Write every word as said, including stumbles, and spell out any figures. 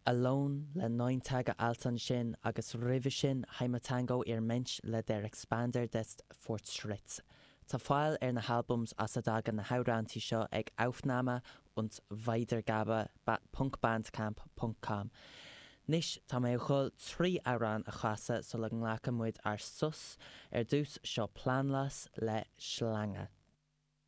Alone le Neun Tage Alt ansin agus roimhe sin Heimattango ihr Mensch le Der Expander des Fortschritts. Tá fáil ar na halbums as a dtagann na hamhráintí seo ag Aufnahme und Weitergabe .bandcamp.com. Anois tá mé chun trí amhrán a chasadh sula nglacann muid ár sos ar dtús seo Planlos le Schlange.